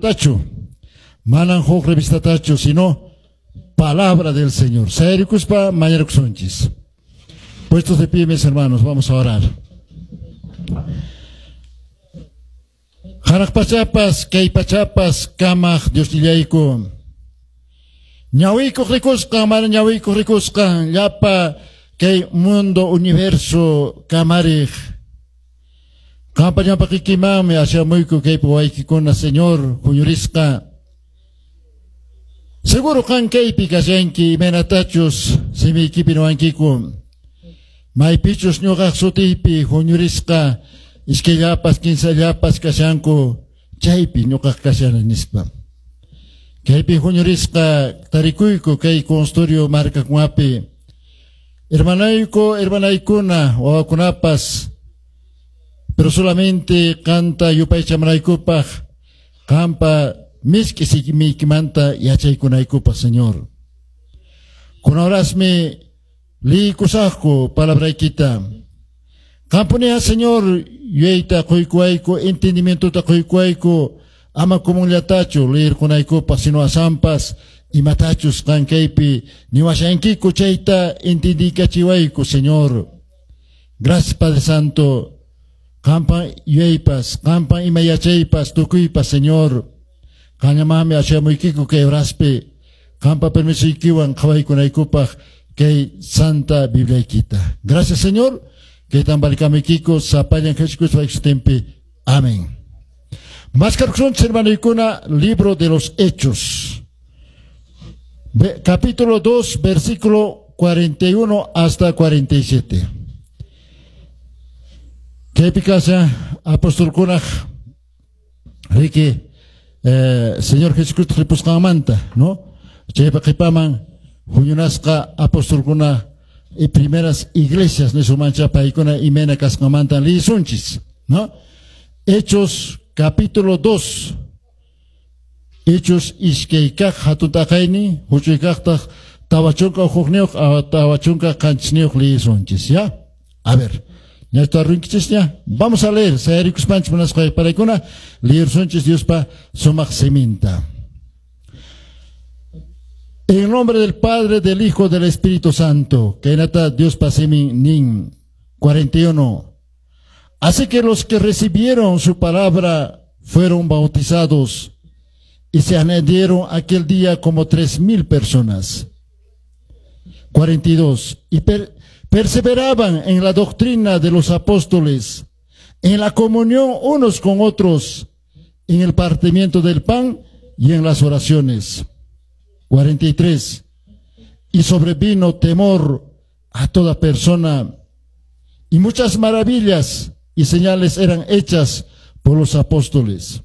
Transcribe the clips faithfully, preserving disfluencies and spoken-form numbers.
Tachu, manan huk revistatachu, sino palabra del Señor. Sayarikuspa mañakusunchis. Puestos de pie, mis hermanos, vamos a orar. Hanaq pachapas, kay pachapas, kamaq Diosnillayku. Ñawiykuq rikusqan, mana ñawiykuq rikusqan, llapa kay mundo, universo, kamariq. Qampa ñawpaqikimanmi ashamuyku kaypi waykikuna, Señor, huñurisqa. Seguro qan kaypi kashanki, imaynatachus simiykipi niwankiku. Maypichus ñuqaq sutiypi huñurisqa, iskayllapas, kinsallapas kashanku, chaypi ñuqaq kashani nispa. Kaypi huñurisqa tarikuyku kay consultorio markakunapi. Hermanayku, hermanaykuna, wawakunapas, pero solamente qanta yupaychamanaykupaq, qampa misk'i simiykimanta yachaykunaykupaq, Señor. Kunahorasmi liykusaqku palabraykita. Qampuniya, Señor, yuyayta quykuwayku, entendimientota quykuwayku, ama comunllatachu liyirqunaykupaq, sino asampas imatachus qan kaypi niwashankiku chayta entendikachiwayku, Señor. Gracias, Padre Santo. Qampa yuyaypas, qampa ima yachaypas, tukuypas, Señor. Qañamami ashamuykiku kay horaspi, qampa permisuykiwan qhawaykunaykupaq kay Santa Bibliaykita. Gracias, Señor. Kaytan balikamuykiku sapallan Jesucristo sutinpi. Amén. Maskarkusunchis, hermanoykuna, libro de los Hechos. Capítulo dos, versículo cuarenta y uno hasta cuarenta y siete. Kaypi kashan apostolkunaq riki eh, Señor Jesucristo ripusqanmanta, ¿no? Chaypa qhipaman huñunasqa apostolkuna y primeras iglesias nisumancha paykuna imayna kasqanmanta liyisunchis, ¿no? Hechos capítulo dos. Hechos iskaykaq hatun t'aqaynin huch'uykaqtaq tawa chunka hukniyuq tawa chunka qanchisniyuq liyisunchis, ¿ya? A ver. Ya está rinkichis. Vamos a leer. Sayarikuspanchis munasqa paraykuna liyirsunchis Diospa sumaq siminta. En nombre del Padre, del Hijo, del Espíritu Santo. Kaynata Diospa simin nin. cuarenta y uno. Así que los que recibieron su palabra fueron bautizados y se añadieron aquel día como tres mil personas. cuarenta y dos. Y per perseveraban en la doctrina de los apóstoles, en la comunión unos con otros, en el partimiento del pan y en las oraciones. cuarenta y tres. Y sobrevino temor a toda persona, y muchas maravillas y señales eran hechas por los apóstoles.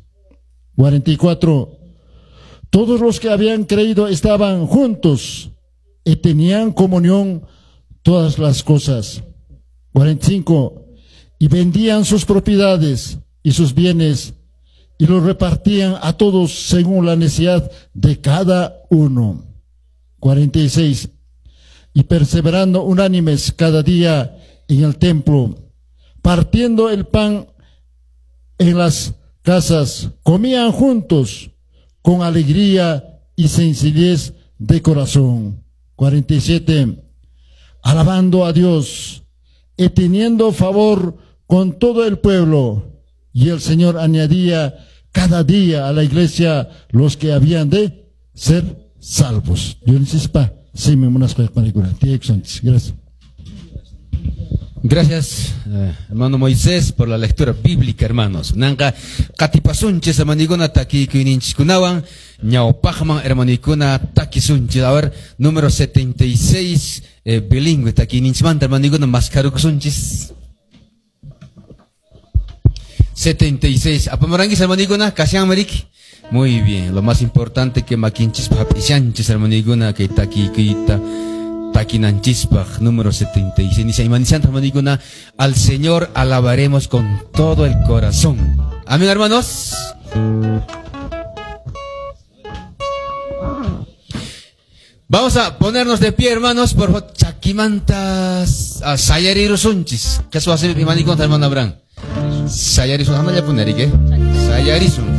cuarenta y cuatro. Todos los que habían creído estaban juntos y tenían comunión todas las cosas. cuarenta y cinco. Y vendían sus propiedades y sus bienes y los repartían a todos según la necesidad de cada uno. cuarenta y seis. Y perseverando unánimes cada día en el templo, partiendo el pan en las casas, comían juntos con alegría y sencillez de corazón. cuarenta y siete. Alabando a Dios y teniendo favor con todo el pueblo. Y el Señor añadía cada día a la iglesia los que habían de ser salvos. Gracias. Gracias, eh, hermano Moisés, por la lectura bíblica, hermanos. Nanka katipasunchis hermanikuna takikuyninchikunawan ñawpaqman hermanikuna takisunchis. A ver, número setenta y seis, eh, bilingüe takiyninchimanta hermanikuna maskarukusunchis. setenta y seis. Apamarangis hermanikuna, kashan marik. Muy bien, lo más importante que makinchis papishanchis hermanikuna que takikuyta takinanchispaj, número setenta y seis. Hermanikuna, al Señor alabaremos con todo el corazón. Amén, hermanos. Vamos a ponernos de pie, hermanos, por favor. Chaquimantas a sayarirusunchis. ¿Qué eso hace mi hermano Abraham? Sayarisun, ¿qué? Sayarisun.